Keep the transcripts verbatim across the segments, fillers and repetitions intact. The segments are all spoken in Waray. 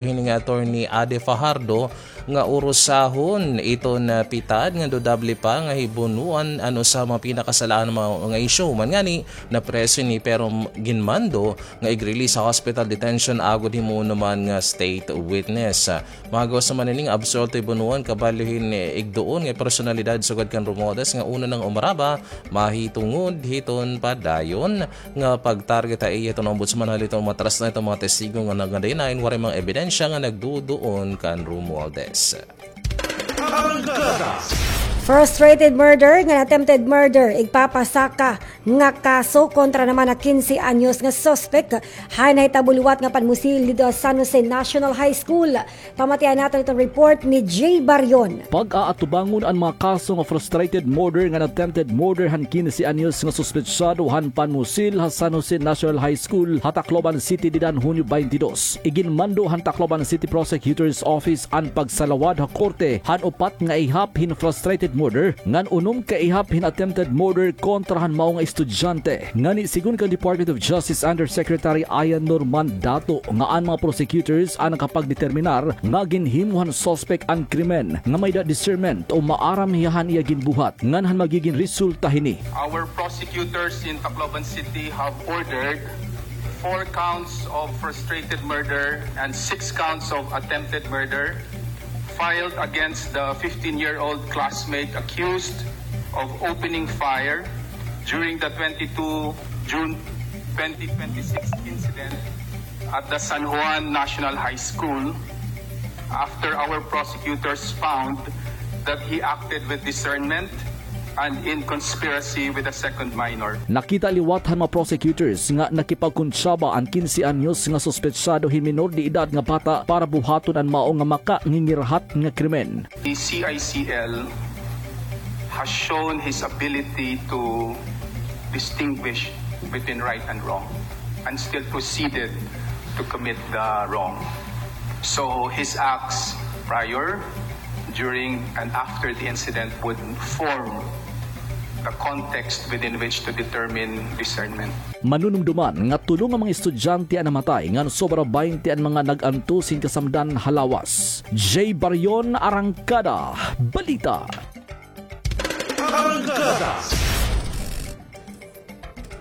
hini nga Attorney Ade Fajardo nga urusahon iton pitad nga dudable pa nga hibunuan an usa mga pinakasalahan nga isyu. Human ngani, napreso ini pero ginmando nga ig-release ha hospital detention agod himuon naman nga state witness. Mahagawas naman ini nga absuwelto hibunuan kabalo hin igduon nga personalidad sugad kan Romualdez nga una na nga umaraba mahitungod hiton padayon nga pag-target ha iya hiton ombudsman, haliton matras na hiton mga testigo nga nagadayon waray mga ebidensya nga nagduduon kan Romualdez. Frustrated murder ngan attempted murder igpapasaka nga kaso kontra naman ha kinse anyos nga suspek ha nahitabo liwat nga panmusil didto ha San Jose National High School. Pamatian naton iton report ni Jay Barion. Pag-aatubangon an mga kaso nga frustrated murder ngan attempted murder han kinse anyos nga suspetsado han panmusil ha San Jose National High School ha Tacloban City dida han Hunyo twenty-two. Iginmando han Tacloban City Prosecutor's Office an pagsalawad ha korte han upat nga ihap hin frustrated murder ngan unom ka ihap hin attempted murder kontra han mao nga estudyante. Ngani, sigon kan Department of Justice Undersecretary Ian Norman Dato, nga an mga prosecutors an nakapagdeterminar nga ginhimo han suspek an krimen nga may-ada discernment o maaram hiya han iya ginbuhat ngan han magigin resulta hini. Our prosecutors in Tacloban City have ordered four counts of frustrated murder and six counts of attempted murder filed against the fifteen-year-old classmate accused of opening fire during the twenty-two June twenty twenty-six incident at the San Juan National High School after our prosecutors found that he acted with discernment and in conspiracy with a second minor. Nakita liwat han mga prosecutors nga nakipagkontsaba an kinse anyos nga suspetsado hin minor de edad nga bata para buhaton an mao nga makangingirhat nga krimen. The C I C L has shown his ability to distinguish between right and wrong and still proceeded to commit the wrong. So his acts prior, during, and after the incident would form the context within which to determine discernment. Manunumduman nga tulo nga mga estudyante an namatay ngan sobra baynte an mga nag-antos hin kasamdan ha lawas. Jay Barion, Arangkada Balita. Arangkada.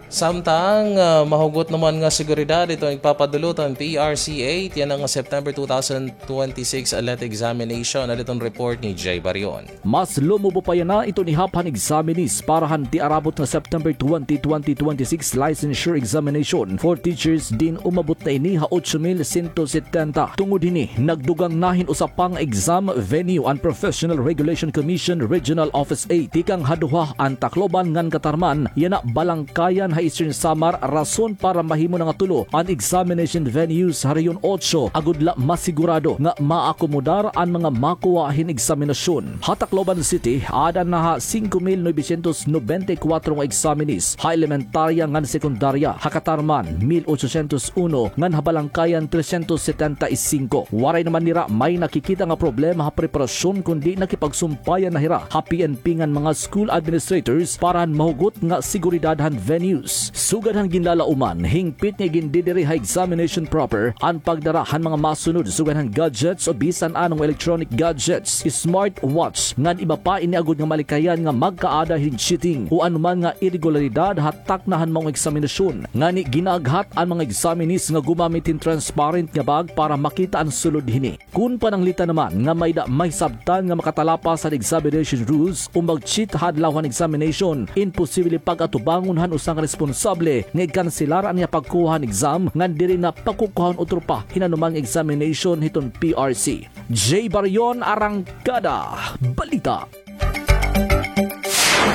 Samtang ah, mahugot naman nga seguridad iton igpapadulot an P R C A, tiyan nga September two thousand twenty-six LET examination, haliton report ni Jay Barion. Mas lumubo pa yana iton ihap han examinees para han tiarabot nga September twenty, twenty twenty-six licensure examination for teachers, diin umabot na ini ha otso mil sento setenta. Tungod hini, nagdugang na hin usa pa nga exam venue an Professional Regulation Commission Regional Office eight, tikang ha duha, an Tacloban ngan Catarman, yana Balangkayan ha Eastern Samar, rason para mahimo na nga tulo an examination venues ha Rehiyon otso, agod la masigurado nga maakomodar an mga makuha hin eksaminasyon. Ha Tacloban City, aada na ha singko mil novecientos nobenta y kuwatro nga examinees ha elementarya ngan sekundarya, ha Catarman, mil ochocientos uno, ngan ha Balangkayan, trescientos setenta y cinco. Waray naman nira may nakikita nga problema ha preparasyon, kundi nakipagsumpayan na hira ha P N P ngan mga school administrators para han mahugot nga seguridad han venues. Sugad han ginlalauman, hingpit nga igindidiri ha examination proper an pagdara han mga masunod sugad han gadgets o bisan anong electronic gadgets, smartwatch, ngan iba pa ini agod nga malikayan nga magkaada hin cheating o anoman nga iregularidad ha takna han maong eksaminasyon. Ngani, ginaaghat an mga examinees nga gumamit hin transparent nga bag para makita an sulod hini. Kon pananglitan naman nga may-ada mahisabtan nga makatalapas han examination rules o mag-cheat ha adlaw han examination, imposible pag-atubangon han usa nga responsable nga ikanselar an iya pagkuha han exam ngan diri na pakukuhahon utro pa hin anoman nga examination hiton P R C. Jay Barion, Arangkada Balita.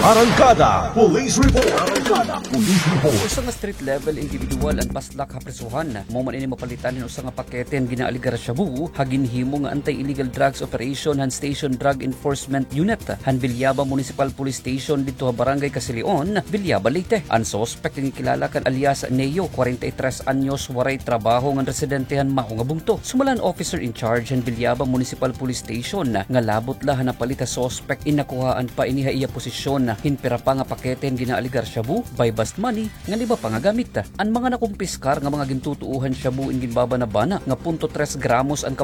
Arangkada Police Report. Arangkada Police Report. Usa nga street level individual an paslak ha prisohan. Mao man ini mapalitan hin usa nga pakete an ginaalegar shabu ha ginhimo nga anti-illegal drugs operation han Station Drug Enforcement Unit han Villaba Municipal Police Station didto ha Barangay Casilion, Villaba, Leyte. An suspek nga gikilala kan alias Neo, kwarenta y tres anyos, waray trabaho ngan residente han mao nga bungto. Sumala han officer in charge han Villaba Municipal Police Station nga labot la han napalit ha suspek, inakuhaan pa ini ha iya posisyon Hin pira pa nga pakete hin ginaaligar shabu, buy-bust money, ngan iba pa nga gamit. An mga nakumpiskar nga mga gintutuohan shabu in ginbabanabana nga punto tres gramos an